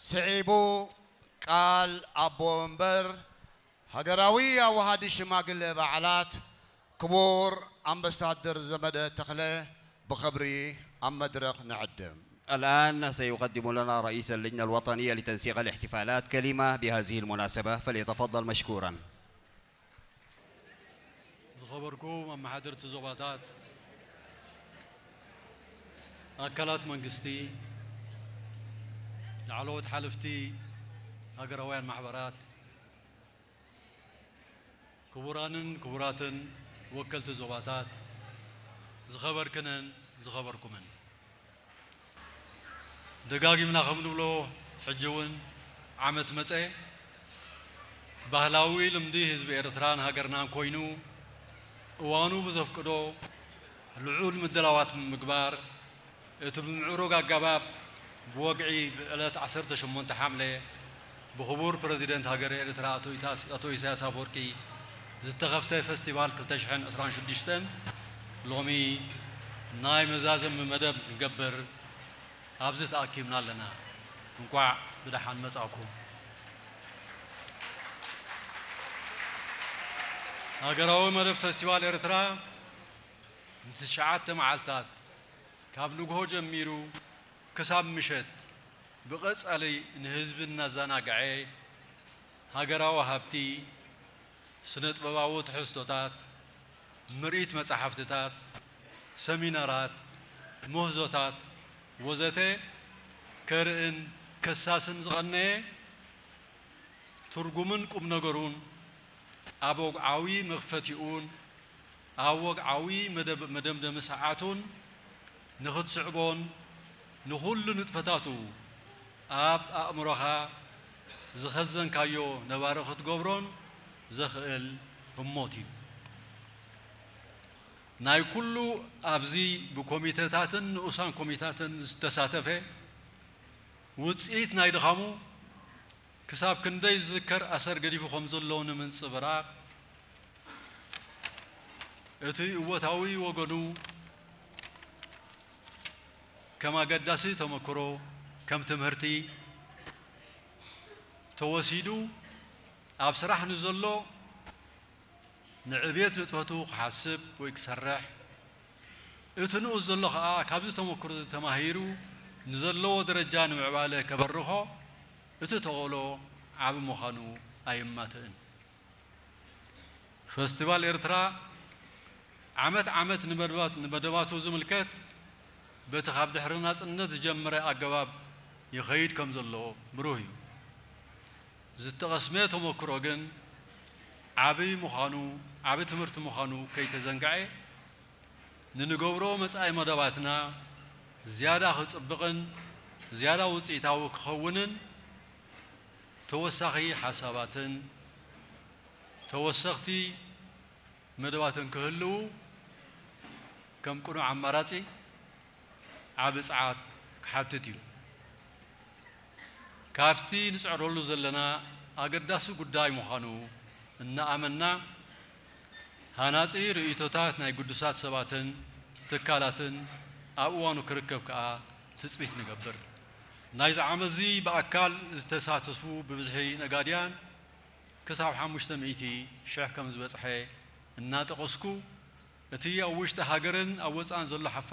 ስዒቡ ቃል ኣቦ መንበር ሃገራዊ ኣዋሃዲ ሽማግለ በዓላት ክቡር ኣምባሳደር ዘመደ ተኽለ ብኽብሪ ኣብ መድረኽ ንዕድም። الآن سيقدم لنا رئيس اللجنة الوطنية لتنسيق الاحتفالات كلمة بهذه المناسبة، فليتفضل مشكورا. ዝኸበርኩም ኣመሓደርቲ ዞባታት፣ ኣካላት መንግስቲ፣ ላዕለዎት ሓለፍቲ ሃገራውያን ማሕበራት፣ ክቡራንን ክቡራትን ወከልቲ ዞባታት፣ ዝኸበርክንን ዝኸበርኩምን። ደጋጊምና ከም ንብሎ፣ ሕጂ እውን ዓመት መጸ፣ ባህላዊ ልምዲ ህዝቢ ኤርትራን ሃገርናን ኮይኑ፣ እዋኑ ብዘፍቅዶ ልዑል ምድላዋት ብምግባር፣ እቲ ብምዕሩግ ኣገባብ ብወግዒ ብዕለት ዓሰርተ ሸሞንተ ሓምለ ብኽቡር ፕረዚደንት ሃገረ ኤርትራ ኣቶ ኢሳያስ ኣፈወርቂ ዝተኸፍተ ፈስቲቫል ክልተ ሽሕን ዕስራን ሽዱሽተን ሎሚ ናይ መዛዘሚ መደብ ክንገብር ኣብዚ ተኣኪብና ኣለና። እንቋዕ ብደሓን መጻእኩም። ሃገራዊ መደብ ፈስቲቫል ኤርትራ ንትሽዓተ መዓልታት ካብ ንግሆ ጀሚሩ ክሳብ ምሸት ብቐጻሊ ንህዝቢ እናዘናግዐ ሃገራዊ ሃብቲ፣ ስነ-ጥበባዊ ትሕዝቶታት፣ ምርኢት መጻሕፍትታት፣ ሰሚናራት፣ ምህዞታት ወዘተ ከርእን ከሳስን ዝቐነየ ትርጉምን ቁም ነገሩን ኣብ ወግዓዊ መኽፈቲኡን ኣብ ወግዓዊ መደብ መደምደሚ ሰዓቱን ንኽትስዕቦን ንኹሉ ንጥፈታቱ ኣብ ኣእምሮኻ ዝኸዘንካዮ ነባሪ ክትገብሮን ዘኽእል ህሞት እዩ። ናይ ኩሉ ኣብዚ ብኮሚተታትን ንኡሳን ኮሚታትን ዝተሳተፈ ውፅኢት ናይ ድኻሙ ክሳብ ክንደይ ዝዝከር ኣሰር ገዲፉ ከም ዘሎ ንምንፅብራቕ እቲ እወታዊ ወገኑ ከም ኣገዳሲ ተመክሮ ከም ትምህርቲ ተወሲዱ ኣብ ስራሕ ንዘሎ ንዕብየት ንጥፈቱ ክሓስብ ወይ ክሰርሕ እቲ ንኡስ ዘሎ ኸኣ ካብዚ ተመክሮ እዚ ተማሂሩ ንዘለዎ ደረጃ ንምዕባለ ከበርኾ እቲ ተኽእሎ ዓቢ ምዃኑ ኣይማትእን። ፈስቲቫል ኤርትራ ዓመት ዓመት ንመደባቱ ዝምልከት በቲ ካብ ድሕሪ ናጽነት ዝጀመረ ኣገባብ ይኸይድ ከም ዘሎ ብሩህ እዩ። ዝተቐስመ ተመክሮ ግን ዓቢ ምዃኑ ዓቢ ትምህርቲ ምዃኑ ከይተዘንግዐ ንንገብሮ መጻኢ መደባትና ዝያዳ ክጽብቕን ዝያዳ ውጽኢታዊ ክኸውንን ተወሳኺ ሓሳባትን ተወሰኽቲ መደባትን ክህልዉ ከም ቅኑዕ ኣማራጺ ዓቢ ጸዓት ክሓትት እዩ። ካብቲ ንጽዕረሉ ዘለና ኣገዳሲ ጉዳይ ምዃኑ እናኣመንና ሃናጺ ርእይቶታት ናይ ግዱሳት ሰባትን ትካላትን ኣብ እዋኑ ክርከብ ከኣ ትጽቢት ንገብር። ናይዚ ዓመትዚ ብኣካል ዝተሳተፉ ብብዝሒ ነጋድያን ክሳብ ሓሙሽተ ሚእቲ ሽሕ ከም ዝበጽሐ እናጠቐስኩ እቲ ኣብ ውሽጢ ሃገርን ኣብ ወጻእን ዘሎ ሓፋ